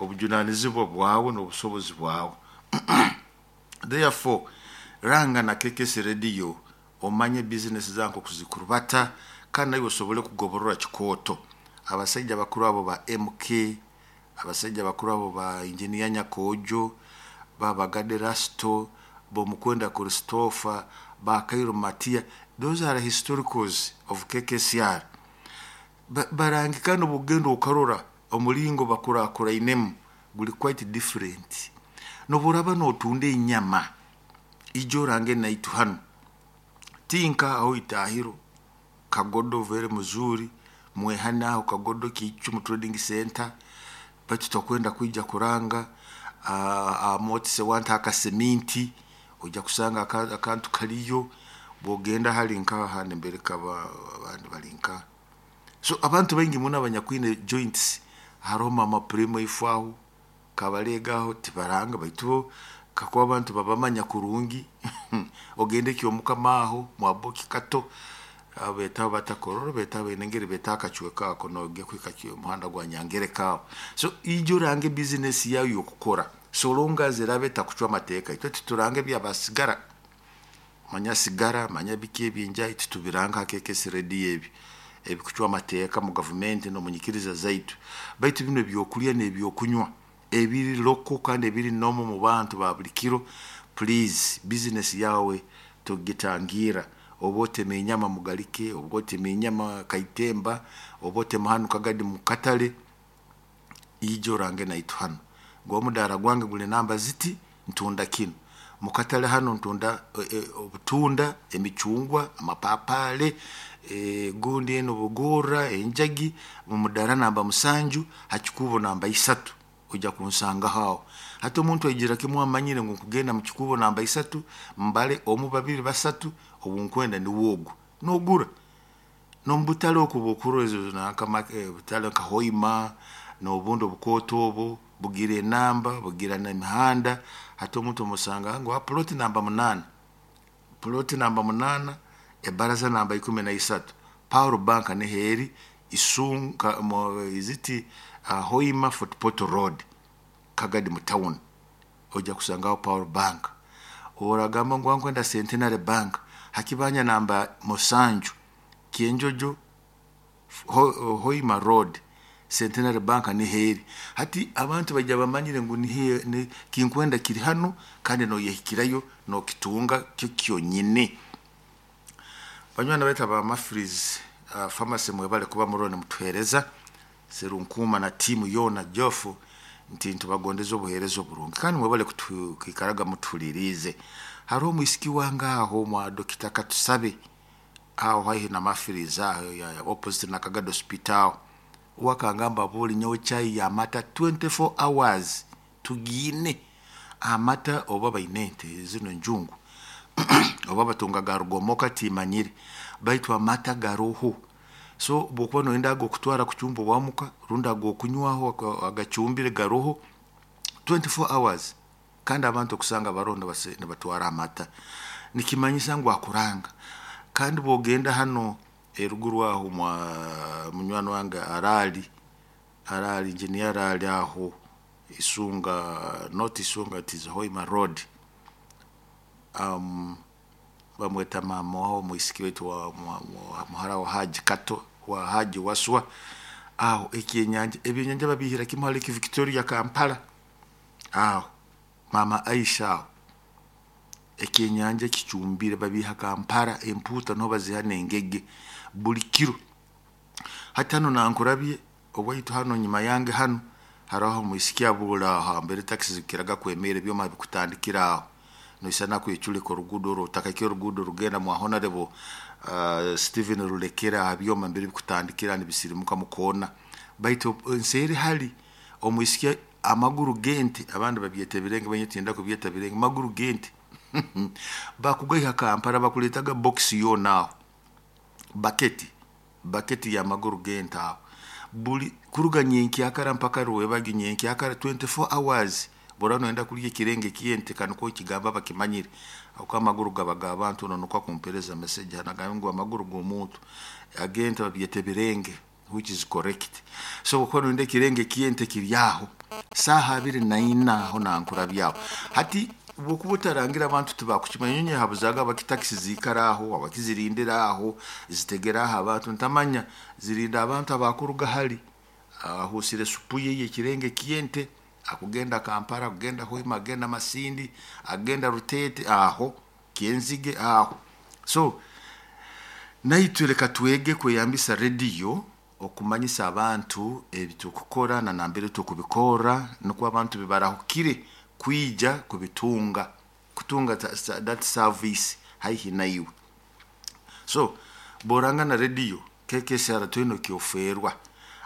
Obujunanizibwa bwawe n'obusobozi bwawe. Therefore, ranga na KKS Radio, omanye bizinesi zange okuzikurubata, kandi naiwe osobole kugoborora kikooto. Abasaija bakuru abo ba MK, abasaija bakuru abo ba Engineer Nyakojo, Babagade Rasto, Bomukwenda Christopher, ba Kairo Matia, those are historicals of KKCR. Barangika n'obugenda okarora omulingo bakurakurainemu guli quite different. Noburaba notunda enyama, ijo orange naitu hanu tinka aho itahiro Kagodo vere muzuri mwehana aho Kagodo Kichumu Trading Center, baitu tokwenda kwija kuranga amotise wanta akaseminti ojja kusanga akantu kaliyo. Bwogenda hali nka handi mbere kaba abandi bali nka so abantu baingi muno abanyakwine joints. Haroho Mama Primo ifo aho kabalega aho tibaranga, baitu bo kakuba abantu babamanya kurungi. Ogende Kyomukama aho mwaboki kato betaho batakororo betaho enengeri beta akacweka ako nogya kuhika muhanda gwa Nyangereka aho. So ijo orange business yawe yokukora, so long as erabe etakucwa amateeka. Itwe titurange ebyabasigara, manya sigara, manya biki ebyenjayi, titubiranga ha KKS Radio ebi ebikucwa amateeka mu gavumenti n'omunyikiriza zaitu. Baitu bino ebyokulya n'ebyokunywa ebiri local kandi ebiri normal mu bantu ba buli kiro, please, business yawe togitangira. Oba otema enyama Mugalike, oba otema enyama Kaitemba, oba otema hanu Kagadi mu katale, ijo orange naitu hanu ngu omudara gwange guli namba ziti, ntunda kinu mukatale hano, ntunda obutunda, emicungwa, amapapale, gundi eno bugorra, enjagi, mumudara namba 7 hakikubo namba 3, ojja kunsangaho aho. Hati omuntu aigira kimu amanyire ngu nkugenda mu kikubo namba 3, mbale omu, babiri, basatu, obunkwenda niwe ogu nogura. Nomubutale oku bwokurora ezo nanka butale nka Hoima n'obundi obukooto obu bugira enamba, bugira n'emihanda. Hati omuntu omusanga ngu ploti namba 8, ploti namba 8, ebaraza namba 13, Power Bank niho eri Isunga iziti Hoima Fort Portal Road, Kagadi mu town, ojja kusangaho Power Bank. Oragamba ngu nkwenda Centenary Bank, hakibanja namba 7 Kyenjojo Hoima Road, Centenary Bank niho eri. Hati abantu baija bamanyire ngu nihe kinkwenda kiri hanu, kandi noyehikirayo nokitunga kyo kyonyine. Banywani baitu aba Mafreeze Pharmacy, mwebale kuba muroho nimutuhereza. Serunkuma na tiimu yoona Jofu, nti ntubagondeza obuheereza oburungi, kandi mwebale kwikaraga mutuhuliriize. Haroho omwisiki wange aho mwa Dokita Katusabe aho haihi na Mafreeze aho opposite na Kagadi Hospital, wakangamba buli nyowe chai y'amata 24 hours tugiine amata. Oba baine ente zino enjungu oba batunga ga rugomoka timanyire, baitu amata garoho. So bwokuba noyenda ag'okutwara kucumba owamuka rundi ag'okunywaho agacumbire, garoho 24 hours. Kandi abantu okusanga baroho nibatwara amata, nikimanyisa ngu akuranga. Kandi bwogenda hano eruguru aho mwa munywani wange arali arali engineer arali aho Isunga, not Isunga, it is Hoima Road, bamweta mama waho mwisiki wetu wa muhara wa Haji Kato wa Haji Waswa aho. Ekyenyanja, ebyenyanja babihira kimu hali Victoria Kampala aho, Mama Aisha aho, ekyenyanja kicumbire babiha Kampala, empuuta niho baziha n'engege buli kiro. Hati hano nankurabye owaitu hano nyuma yange hano haraho omwisiki abuura aho hambere takisi zikiraga kwemera ebyoma bikutandikira aho noisana kweculika oruguudo orwo otakakye oruguudo rugenda mwa Honorable Stephen Rulekera, aha byoma mbere bikutandikira nibisirimuka mukoona. Baitu nseeri hali omwisiki amaguru gente, abandi babyeta ebirenge, banye tinda kubyeta birenge, maguru gente bakugaiha Kampala, bakuletaga box yoona aho, baketi baketi y'amaguru gente aho buli kuruga nyenkyakara mpaka rwebagi nyenkyakara, 24 hours. Bwora noyenda kulya ekirenge kyente kaniko ekigamba bakimanyire ako amaguru gaba g'abantu. Ono nukwo akumpereza message nagamba ngu amaguru g'omuntu agente babyeta ebirenge, which is correct. So bwokuba noyenda ekirenge kyente kiri aho. Saaha 24 aho nankurabyaho. Hati bwokuba otarangira abantu tibakukimanya. Nyonyi habuzaga abakitakisi ziikara aho, abakizirindira aho, zitegera aho abantu ntamanya zirinda abantu abakuruga hali ahusire supu ye yekirenge kyente akugenda Kampala, akugenda Hoima, agenda Masindi, agenda Rutete aho Kyenzige aho. So naitwe leka twege kweyambisa rediyo okumanyisa abantu ebitukukora na nambere tukubikora, nukwo abantu bibarahukire kwija kubitunga, kutunga that service haihi naiwe. So boranga na rediyo KKCR twino kyoferwa.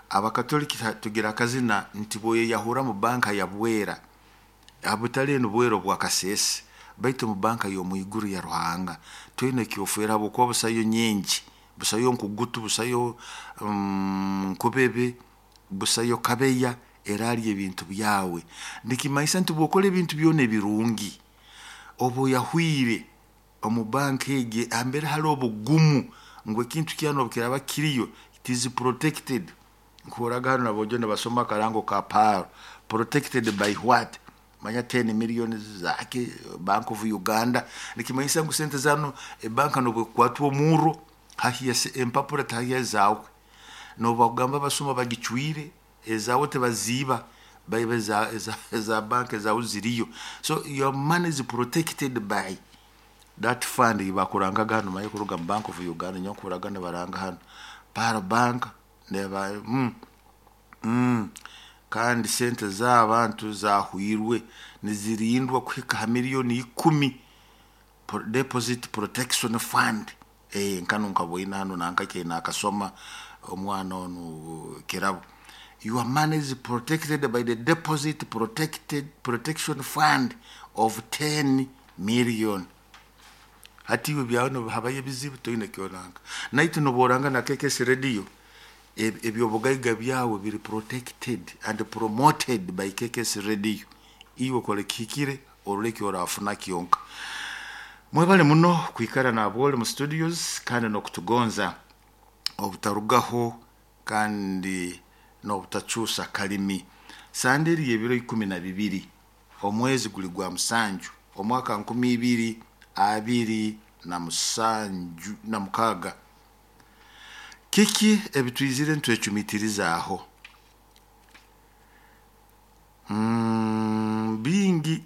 Abakatoliki tugira akazina nti boyeyahura mu banka ya Bwera, abutali enu Bwera obwa Kasese, baitu mu banka y'omwiguru ya Ruhanga twine kyofera habwokuba busayo nyingi, busayo nkugutu, busayo nkubebe, busayo kabeya eralya ebintu byawe. Nikimanyisa nti bwokora ebintu byona ebirungi oba oyahwire omu banka egi ambere hali obugumu ngu ekintu kyanu obukiraba kiriyo it is protected. Nkuhoraga hano nabojo nibasoma akarango ka PAL, protected by what? Manya 10 million zake Bank of Uganda. Nikimanyisa ngu sente zanu ebanka nobwekwatwa omurro hahiya empapura tahiya zawe, nobagamba abasuma bagicwire ezawe tebaziiba, baiba eza banka ezawe ziriyo. So your money is protected by that fund bakurangaga hano maye kuruga mu Bank of Uganda. Nyonkuraga nibaranga hano PAL bank neba kandi sente z'abantu zahwirwe nizirindwa kuhika ha miliyoni 10 deposit protection fund. Nkano nkaboina hano nankake nakasoma omwana onu kirabo. Your money is protected by the deposit protection fund of 10 million. Hati iwe byawe habayo ebizibu toine kyoranga. Naitu noboranga na KKS radio ebyobugaiga byawe biri protected and promoted by KKS radio. Iwe kole kihikire oruleke orafuna kyonka. Mwebale muno kwikara na abole mu studios kandi nokutugonza obutarugaho kandi nobutachusa kalimi. Sanderi y'ebiro 12 omwezi guli gwa musanju omwaka 2026. Kiki ebitwizire ntwecumitiriza aho? Bingi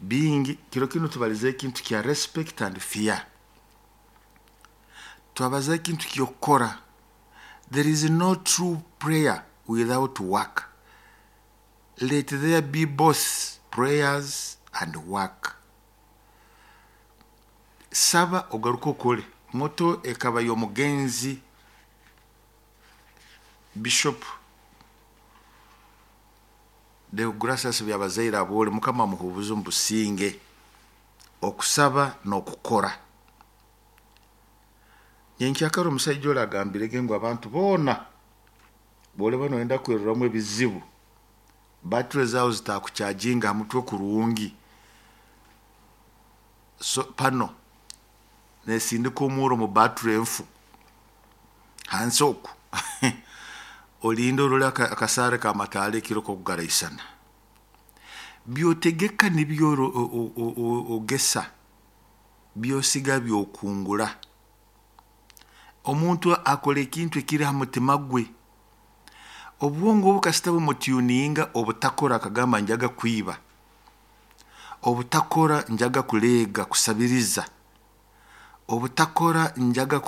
bingi. Kiro kino tubalize ekintu kya respect and fear. Twabaza ekintu kyokora. There is no true prayer without work. Let there be both prayers and work. Saba ogaruka okole. Moto ekaba y'omugenzi Bishop Deogratias Byabazaire abole, Mukama amuhubuze omu businge. Okusaba n'okukora. Nyenkyakara omusajja oli agambirege ngu abantu boona bole bano wenda kweruramu ebizibu, battery zawe zitakucharginga ha mutwe kurungi. So pano nesindika omuro mu battery enfu hansi oku olinde orole akasare kamatale ekiro kokugaraisana. Byotegeka nibyo ogesa, byosiga byokungura. Omuntu akora ekintu ekiri ha mutima gwe, obwongo obukasita bumutuninga obutakora akagamba njaga kwiba, obutakora njaga kulega kusabiriza, obutakora njaga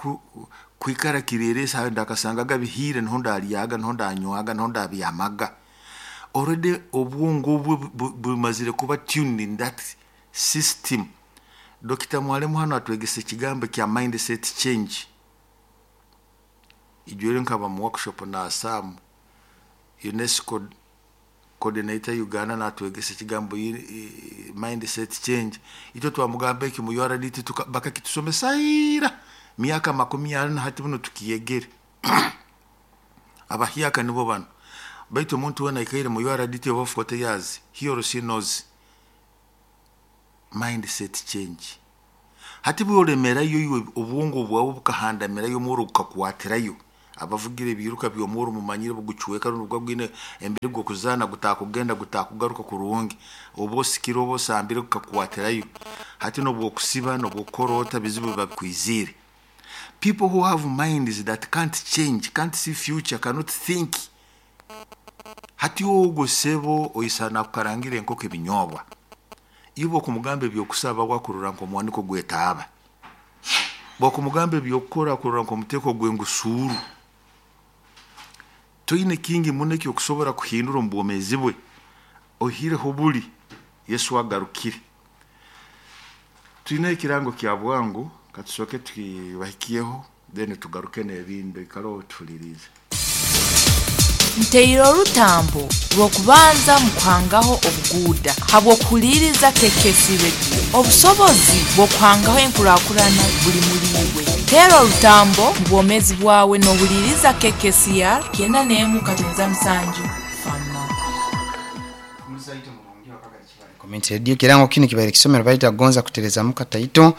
kwikara kireresa ndakasangaga bihire niho ndaryaga niho ndanywaga niho ndabyamaga. Already obwongo bwe bumazire kuba tuned in that system. Dr. Mwalimu hano atwegesa ekigambo kya mindset change. Ijwere nkaba mu workshop na Sam UNESCO coordinator Uganda natwegesa ekigambo mindset change. Ito twamugamba eki mu URDT bakakitusomesa ira miaka 40 hati buno tukiyegere. Abahiaka nibo bano. Baitu omuntu wena aikaire mu URDT over 40 years, he or she knows mindset change. Hati bwolemerayo iwe obwongo bwawe bukahandamirayo omuro bukakwatirayo. Abavugira ebiruka by'omuro mumanyire bugucweka rundi gwa gwine emberi gw'okuzaana gutakugenda gutakugaruka kurungi, oba osikire oba osambire gukakukwatirayo. Hati n'obwokusiba n'obwokukorota bizibu biba bikwizire. People who have minds that can't change, can't see future, cannot think. Hati ogwo sebo oisana akukarangira enkoko ebinyobwa, iwe okumugamba ebyokusaba wakurora nk'omwaniko gw'etaaba, bwokumugamba ebyokukora akurora nk'omuteeko gw'engusuuru. Toine kingi muno ekyokusobora kuhindura omu bwomeezi bwe, oihireho buli Yesu agarukire. Twine ekirango kya bwangu, katusooke tukibahikyeho then tugaruke n'ebindi, oikale otuhuliriize. Nteire orutambo rw'okubanza mu kuhangaho obuguuda habw'okuhuliiriza KKC Radio. Obusobozi bw'okuhangaho enkurakurana buli muli iwe. Teera orutambo mu bwomeezi bwawe n'ohuliiriza KKCR 91.7 Fama. Community Radio kirango kinu kibaire kisomero baita gonza kutereza kataito.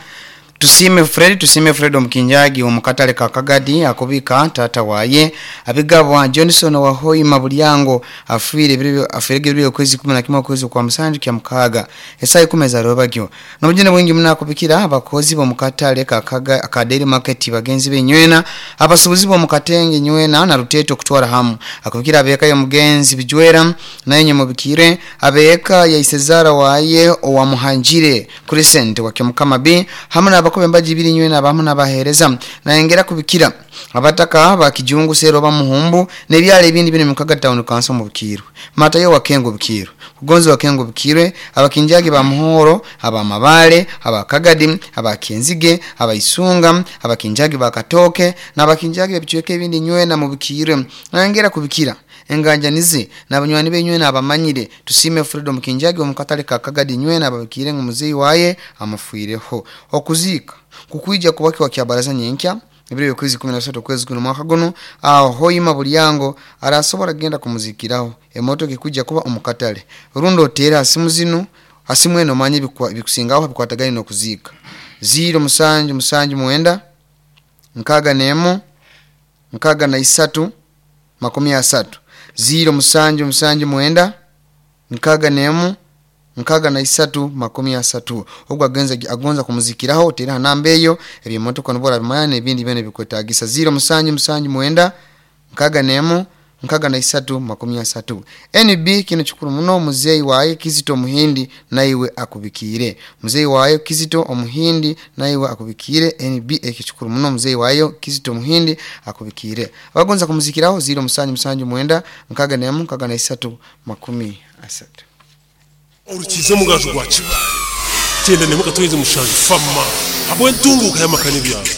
Tusime Fred, tusime Fred omukinjagi omukatale ka Kagadi akubika tata waye abigabwa Johnson wa Hoima Bulyango afiire biri afiire biri kwezi 11 kwezi kwa musanju kya mukaga esai kumeza robagyo nobujene bwingi munakubikira abakozi bo mukatale ka Kaga ka Daily Market bagenzi benywena abasubuzi bo mukatenge nywena na ruteto kutwara hamu akubikira abeka yo mugenzi bijwera nayenye mubikire abeka ya Isezara waye owa Muhanjire Crescent wa Kyamukama B hamwe abakobe mbaji biri nywena abamu nabahereza naengera kubikira abataka bakijungu sero bamuhumbu nebyale ebindi bine mukaga town council mu Bukirwe matayo wakengo Bukirwe kugonzo wakengo Bukirwe abakinjagi ba muhoro abamabale abakagadi abakenzige abaisunga abakinjagi bakatoke nabakinjagi ebichweke ebindi nywena mu Bukirwe naengera kubikira enganjanize nabanywani benywena abamanyire tusime Freedom Kinjagi omukatale ka Kagadi nywena ababikire ngumuzeyi waye amufuireho okuzika kukuija kubaki wa kyabaraza nyenkya ebiro kwezi 13 kwezi kuno mwaka guno aho Hoima Bulyango arasobora genda kumuzikiraho emotoka ikuja kuba omukatale rundo otera asimu zino asimu eno manye bikusingaho bikwatagani no kuzika 0 7 7 9 6 9 3 30 0 7 7 9 6 9 3 ogwo agenza agonza kumuzikiraho otera namba eyo ebimotoka nobora bimanya ebindi bene bikwetagisa 0 7 7 9 6 9 3 NB kino kikuru muno muzeyi waye Kizito Muhindi naiwe akubikire muzeyi waye Kizito Omuhindi naiwe akubikire NB ekikuru muno muzeyi wayo Kizito Muhindi akubikire abagonza kumuzikiraho 0 7 7 9 6 9 3 Urukize mugaju gwa kiba. Tenda ne mukatweze mushanju fama. Habwe ntunguka yamakani byawe.